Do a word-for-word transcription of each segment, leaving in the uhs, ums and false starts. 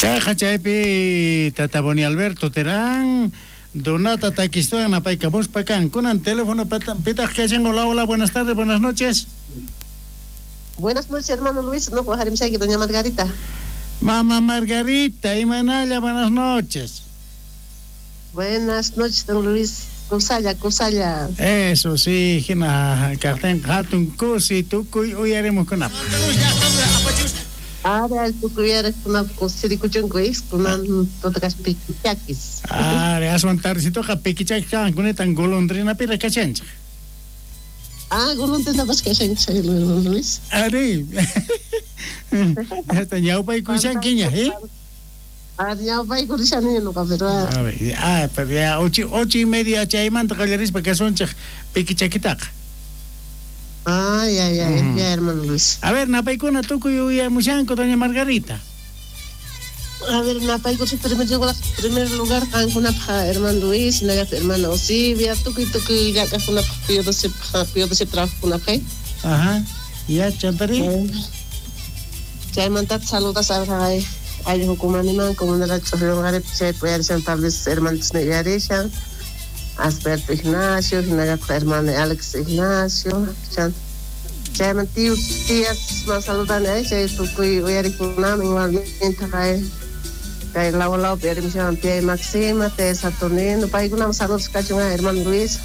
Chayqa chaypi Tata Boni Alberto Terán Donata takistuan napaykamuspa kan. Kunan teléfono pitaq kashan. Hola, hola, buenas tardes, buenas noches. Buenas noches, hermano Luis. No, doña Margarita. Mamá Margarita, imanalla, buenas noches. Buenas noches, don Luis. Kusalla, kusalla. Eso sí, hina kaqtin hatun kusi tukuy uyarimuqkunap. Ara tukuy uyariqkunap kusirikuchunku is kunan tutakash pikichakis. Are aswan tardecitoqa pikichakis kan kunetan golondrinapiraq kashanchik. Ah, golondrinapas kashanchik, hermano Luis. Ari. Hasta ñawpaykushankiña, ¿eh? Ah, ñawpaykurishani ñuqa, pero a ver, ah, pero ya ocho, ocho y media chaymanta qallarispa kasunchik pikichakitaqa. Ah, ya, ya, mm. ya, hermano Luis. A ver, napaykuna tukuy uyamushanku, doña Margarita. A ver, napaykuchi primer lugar, primer lugar qankunapaq hermano Luis, hinallataq hermana Osibia, tukuy tukuy llak'aqkunapaq Pío doce Pío doce trabajaqkunapaq. Ajá, ya, chantari. Chaymantata saludas a ayllu hukumaniman, comunidad ch'uqllunqaripi chaypi uyarishan tal vez hermanitos uyarishan. Asperto Ignacio, hinallataq hermano Alex Ignacio, chan chayman tíos, tías man saludani ay chay tukuy uyarikunaman igualmente kay kay lawa lawpi uyarimushan tía Maxima, tía Saturnino, paykunaman saludos kachun hermano Luis.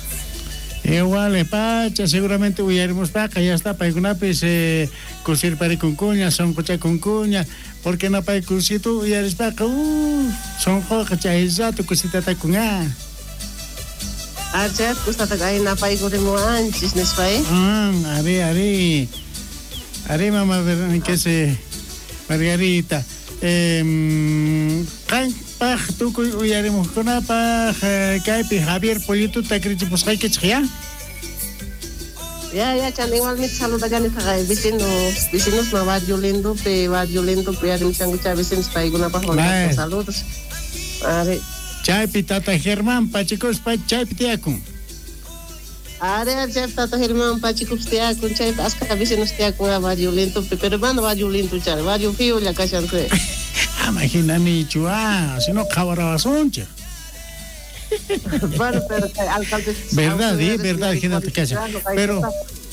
Igual, pacha, seguramente uyarimuspaqa, ya está, paykunapis eh, kusirparikunkuña, sonqochakunkuña, porque napaykusitu uyarispaqa, uh, sonqoqa chay rato kusitatakunqa. Archat kustataq ay napaykurimuwanchis nispa, eh? Ah, ari, ari. Ari, mamá, que se Margarita. Eh, qanpaq tukuy uyarimuqkunapaq kaypi Javier Pollituta krichipusqaykichik, ya? Ya, ya, chan igualmente saludallani taqay vecinos, vecinos ma barrio lindopi, barrio lindopi uyarimushanku chay vecinos paykunapaq saludos. Ari. Chaypi Tata Germán Pachikuspa chaypi tiyakun. Ari, chaypi Tata Germán Pachikuspa tiyakun, chaypi aska vecinos tiyakun barrio lindopi, pero mana barrio lindo chay, barrio feo kashan chay. Ama hinanichu, ah, sino qhawarawasunchik. Bueno, pero alcalde. Verdad, sí, verdad, hinata kashan. Pero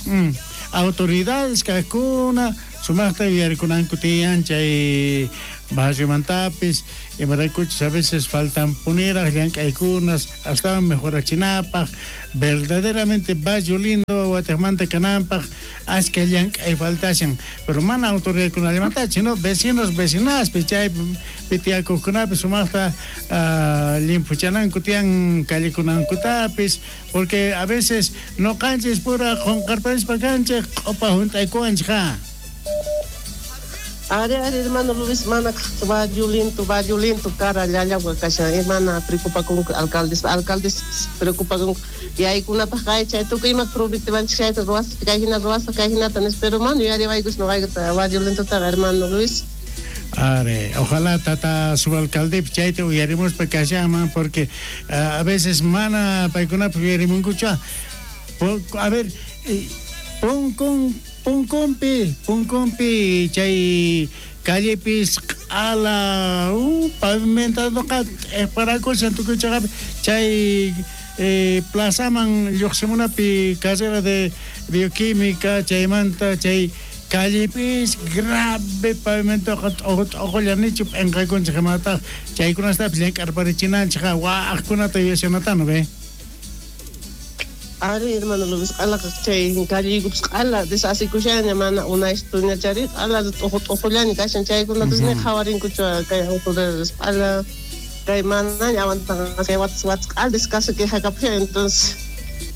mm, autoridades kaqkuna sumaqta yuyarikunanku tiyan chay barriomantapis, imaraykuchus a veces faltan puniraq llank'aykunas astawan mejorachinapaq, verdaderamente barrio lindo watejmanta kananpaq ashka llank'ay faltashan, pero mana autoridadkunallamantachu, sino vecinos, vecinaspi chaypi tiyakuqkunapis sumaqta uh, limpuchananku tiyan callekunankutapis, porque a veces noqanchis pura qunqarparispa kanchik q'upa hunt'aykuwanchik. Ari, ari, hermano Luis, mana barrio lindo, barrio lindo, cara, llallawqa kashan, hermana preocupakunku alcaldes, alcaldes preocupakunku, yaykunapaq kay chay tukuy ima prometiwanchik chayta ruwaspa, kay hina ruwaspa, kay hinata nispa, pero mana yuyariwaykuchu noqaykata barrio lindotaqa, hermano Luis. Are, ojalá tata subalcalde chayta uyarimuspa kashanman, porque uh, a veces mana paykunapaq uyarimunkuchu. A ver, eh, punkun punkunpi, punkunpi chay callepis q'ala uh, pavimentado q'iparakushan tukuy chaqapi chay eh, plazaman lluqsimunapi carrera de bioquímica chaymanta chay callepis grave pavimento t'uqulla nichu p'inqaykunchik imataq chaykunastapis llank'arparichinanchik waqkunata yuyashanatano ve. Ari, hermano Luis, q'alaqa chay calleykupis q'ala desasikushaña mana unaystuña chari q'ala t'uqu t'uqullaña kashan chaykunatas ni qhawarinkuchu kay autoridades q'ala kay manaña aguantan kay watas watas q'ala descaso quejakapushan, entonces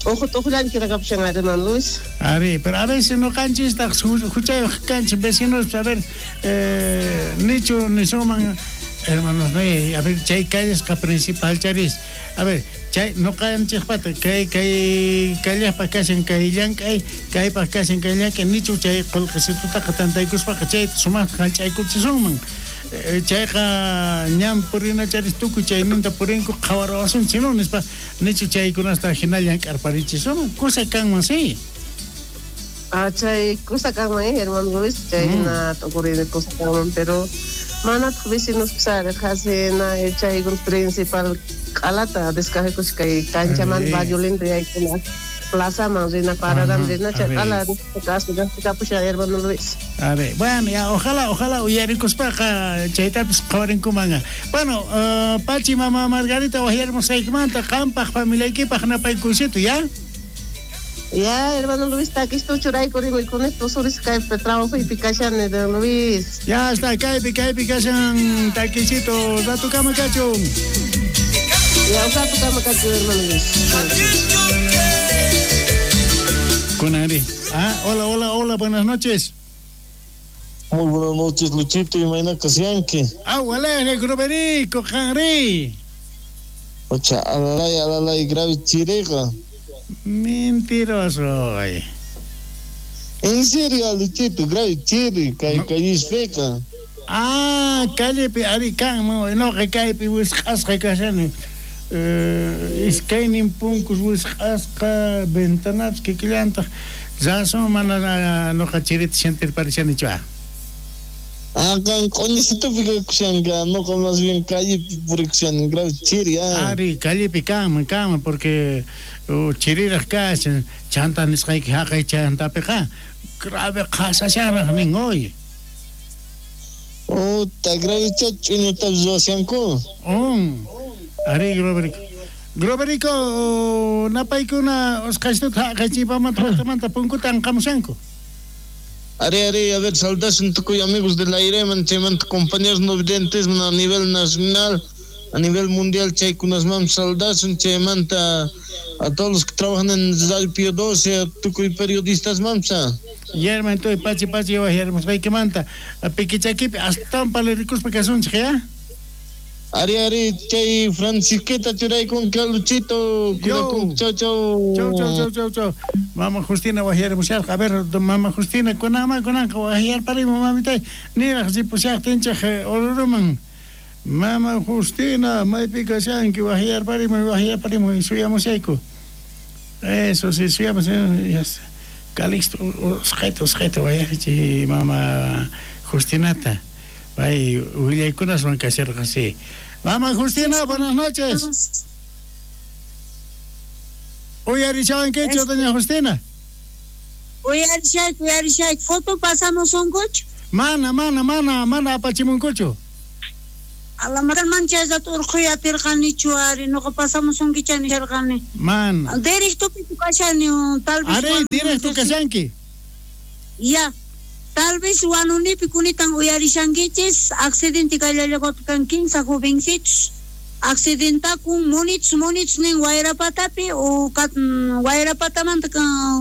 t'uqu t'uqullaña quejakapushan, hermano Luis. Ari, pero a veces noqanchistaq huchayuq kanchik vecinos, a ver, eh, nichu nisuman hermanos, a ver, chay callesqa principal charis, a ver, chay noqanchikpata kay kay kallaqpa kashan kay llank'ay kaypaq kashan kay llank'ay nichu chay qullqisitutaqa tantaykuspaqa chayta sumaqta hallch'aykuchisunman chayqa ñan purina charis tukuy chayninta purinku qhawarawasunchik no nispa nichu chaykunasta hina llank'arparichisunman kusa kanman sí. Ah, chay kusa kanman, eh, hermano Luis, chay hina tukurini kusa kanman, pero Manataq vecinos pisari qhasina chaykuna principal q'alata descajekus kay kanchamanta barrio lindo yaykuna plazaman rina pararam rina chay q'ala kapushan hermano Luis. A ver, bueno, ya ojalá, ojalá uyarikuspaqa chaytapis qhawarinkuman. Bueno, uh, Pachi, mamá Margarita wajyarmusqaykimanta qampaq familiaykipaq napaykunsito, ¿ya? Ya, hermano Luis, takisto churayku rimuykuni tusuris kaypi trabajoypi kashani, don Luis. Ya está, kaypi, kaypi kashan takisito, ratukama kachun. Ya, ratukama kachun, hermano Luis. Kunari. Ah, hola, hola, hola, buenas noches. Muy buenas noches, Luchito, y mañana kasianki. Ah, hola, negro berico, janri. Ocha, alalay, alalay, grave chirega. Mentiroso. Ay. En serio, Luchito, grave chiri, kay kallispeca. Ah, callepi arikan, no, que kaypi wisq'asqa kashani. Eh, iskaynin punkus wisq'asqa ventanapis kikillantaq razón mana noqa chirita sentirparishanichu. Ah, kan q'uñisitupi kakushanka, noqa más bien callepi purikushani, grave chiri, ah. Ari, callepi kanman, kanman, porque uh, chiriraq kashan, chanta nisqayki haqay chantapiqa, grave qhasashanraq nin hoy. Uta, grave ch'uñutapis ruwashanku. Um. Ari, Groberico. Groberico, napaykuna usqhaystuta haqaychipamanta punkuta anqamushanku. Ari, ari, a ver, saludasun tukuy amigos del aire, chaymanta compañeros no videntes a nivel nacional, a nivel mundial, chaykunasman saludasun, chaymanta a todos los que trabajan en Radio Pío doce, a tukuy periodistas mamsa. Yerma, entonces, pachi, pachi, wajyarmusqaykimanta, pikichakipi, astawan palarikuspa kasunchik, ya? Ari, ari, chay Francisqueta churaykun ka Luchito, chau, chau, chau. Chau, chau, chau, chau, chau. Mama Justina wajyarimusharqa. A ver, mama Justina, kunanman kunanqa wajyarparimu mamitay. Niraq ripushaqtinchik Oruruman. Mama Justina, maypi kashanki, wajyarparimu, wajyarparimu, suyamushayku. Eso sí, suyamos. Calixto, usqhayta, usqhayta wajyarichi mama Justinata. Ay, willaykunaswan kasharqa, sí. Mama Justina, buenas noches. Uyarishawankichu, doña Justina? Uyarishayku, uyarishayku. Foto pasamos unkuchu? Mana, mana, mana, mana apachimunkuchu. Alamatan manchayta urquy atirqanichu ari, noqa pasamos unkicha nisharqani. Mana. Directopi kashani, tal vez. Ari, directo kashanki. Ya. Tal vez wanunipi kunitan uyarishankichis, accidente kayllallakupi kan kinsa jovencitos, accidentakun munichus munichus nin Wayrapatapi o Wayrapatamanta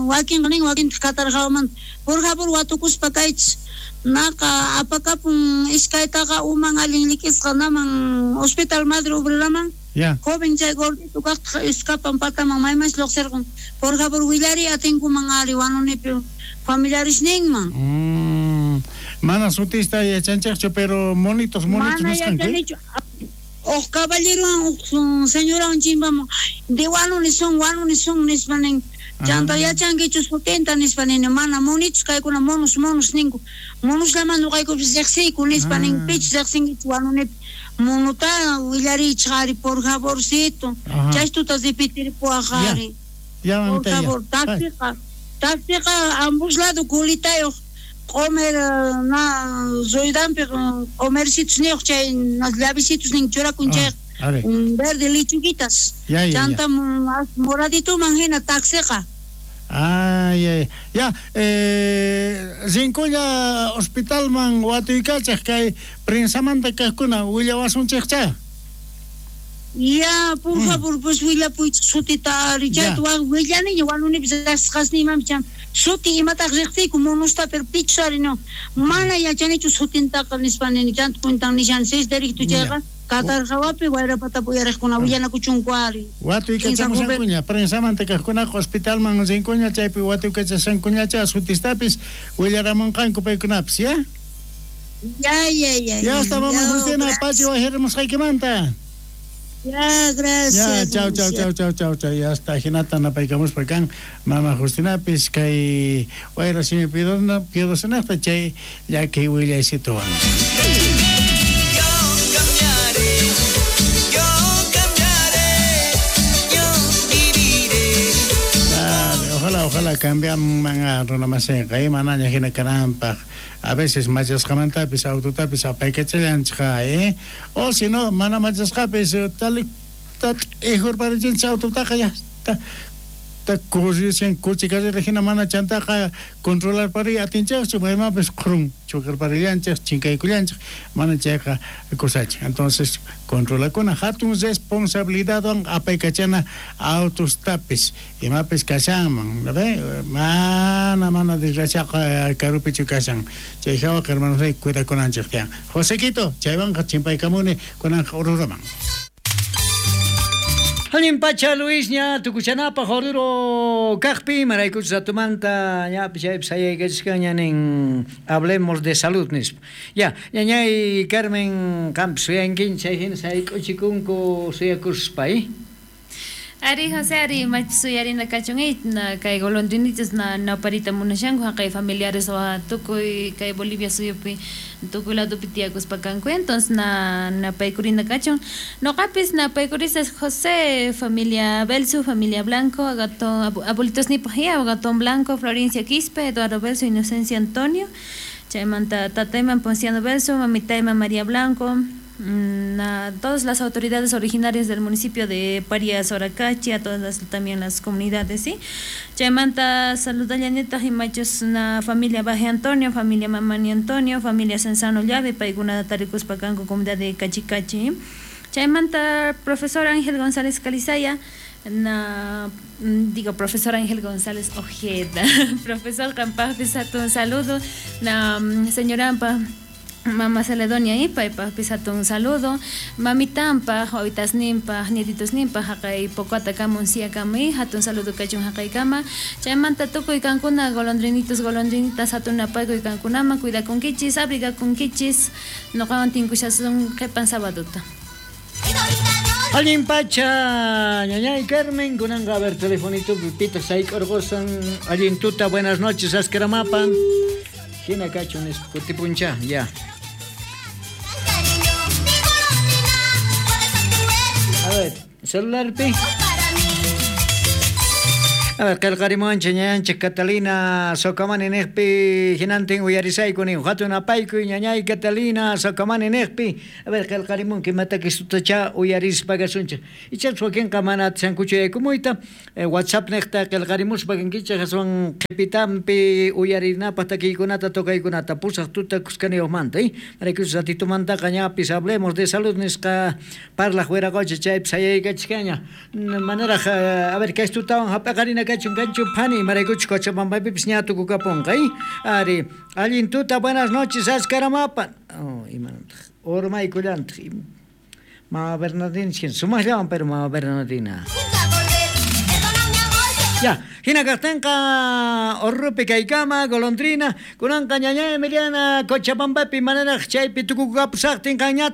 wakinqa nin wakintaq Katarqawamanta. Por favor watukuspa kaychis, naqa apakapun iskaytaqa uman allin likisqa naman Hospital Madre Obreraman. Ya. Joven chay gordito kaqtaq iskapan pataman maymansi lluqsirqun. Por favor willari atinkuman ari wanunipi familiares ninman. Mm, mana sutista yachanchikchu, pero monitos, monitos mana yachanichu. Uj caballerowan uj señorawan chimpamun de wanuni son, wanuni son nispa nin. Chanta yachankichu sutinta nispa nini, mana monitos kaykuna monos, monos ninku. Monoslaman nuqaykupis riqsiyku nispa nin, pichus riqsinkichu wanunipi. Monota willarichik ari, por favorcito. Chaystuta repetiripuwaq ari. Ya, por favor, taxiqa. Taxiqa ambos lado culitayuq q'umir na ruidanpi q'umircitos niyuq chay llavecitos nin churakun chay verde lechuguitas. Chanta moradituman hina taxiqa. Ay, ay, ya, eh, rinkulla hospitalman watuykachaq kay prensamanta kaqkuna willawasunchikcha. Ya, por mm. favor, pues willapuychik sutita ari, chayta willaniña wanunipis riqsisqasniymanpis chan suti imataq riqsiyku monusta pero pichus ari no, mana yachanichu sutintaqa nispa nini, chanta cuentan nishan seis directo chayqa Katarqawapi Wayrapatapi uyariqkuna willanakuchunku ari. Watuykachamushankuña, prensamanta kaqkunaqa hospitalman rinkuña chaypi watuykachashankuñacha sutistapis willaramunqanku paykunapis, ya? Ya, ya, ya. Ya está, mama Justina, pachi wajyarimusqaykimanta. Ya, gracias. Ya, chau, chau, chau, chau, chau, chau. Ya está, hinata napaykamuspa kan mama Justinapis kay wayra simi piedosonaqta chay llakiy willaysituwan. Ojalá cambiaman runamasinqa manaña hina kananpaq. A veces machasqamantapis autotapis apaykachallanchik, eh? O si no, mana machasqapis tal ihurparichinchik autotaqa ya ta ta corrichan coche carrera hina mana chantaqa controlar pari atinchikchu maymapis qhurun chocarparillanchik chinkaykullanchik mana chayqa kusachin. Entonces controlakuna hatun responsabilidadwan apaykachana autostapis imapis kashanman, ¿ve? Mana mana desgraciaqa karupichu kashan chay hawaqa hermanos cuidakunanchik tiyan. Josequito chaywanqa chimpaykamuni kunanqa Oruraman. Allin pacha Luis ña tukuchanapaj Oruro kaqpi maraykuchus ratumanta ñapis chaypis sayaykachishkaña nin hablemos de salud nispa. Ya, ñañay Carmen qampis suyankin chay hina sayk'uchikunku suyakuspa, ¿eh? Ari José Ari machis suyarina kachun na kay golondrinitas na naparita munashanku haqay familiares wa tukuy kay Bolivia suyupi tukuy ladupi tiyakuspa kanku entonces na napaykurina kachun noqapis napaykurisas José familia Belsu familia Blanco Agatón abuelitos nipaj Agatón Blanco Florencia Quispe Eduardo Belsu Inocencia Antonio chaymanta tatayman Ponciano Belsu mamitayman María Blanco a todas las autoridades originarias del municipio de Parias, Oracachi, a todas las, también las comunidades, ¿sí? Chaymanta saludallaneta y machos na familia Baje Antonio, familia Mamani Antonio, familia Sensano Llave, paykuna tarikuspa kanku comunidad de Cachicachi. Chaymanta profesor Ángel González Calizaya, na digo profesor Ángel González Ojeda, profesor Campajpis un saludo, na señora Ampa Mamá Celedonia ipa ipajpis hatun saludo mamitampaj wawitasninpaj nietitosninpaj haqay Pocata kamun siakama hatun saludo kachun haqaykama chaymanta tukuy kankuna golondrinitos golondrinitas hatun napaykuy kankunama cuidakunkichis abrigakunkichis noqawan tinkushasun qhipan sabaduta. Allin pacha, ñañay Carmen, kunanqa a ver telefonito pipita sayk'urqusan allin tuta buenas noches askaramapan hina kachun nispa kutipuncha ya. A ver, celular pi. A ver, qillqarimuwanchik ñañanchik Catalina Socamani niqpi hinantin uyarisayku nin hatun apaykuy ñañay Catalina Socamani niqpi. A ver, qillqarimunki imataki sutacha uyarispa kasunchik. Ichapas wakinqa mana atishankuchu yaykumuyta eh, WhatsApp niqta qillqarimuspa kankichik aswan qhipitanpi uyarinapaq takiykunata tocaykunata pusaq tuta kuskaniyuqmanta, eh? Maraykuchus ratitumantaqa ñapis hablemos de salud nisqa parlaq wiraqocha chaypi sayaykachikaña. Manaraq a ver kay tutawan hap'aqarina kachun kanchu phani maraykuchus Cochabambapipis ña tukukapunqa, eh? Ari, allin tuta buenas noches askaramapa. Oh, imanantaq urmaykullantaq Mama Bernardina sumaqllawan pero Mama Bernardina. Ya, hina kaqtinqa Orrupi kaykama golondrina kunanqa ñañay Emiliana Cochabambapi manaraq chaypi tukukapusaqtin qanñataq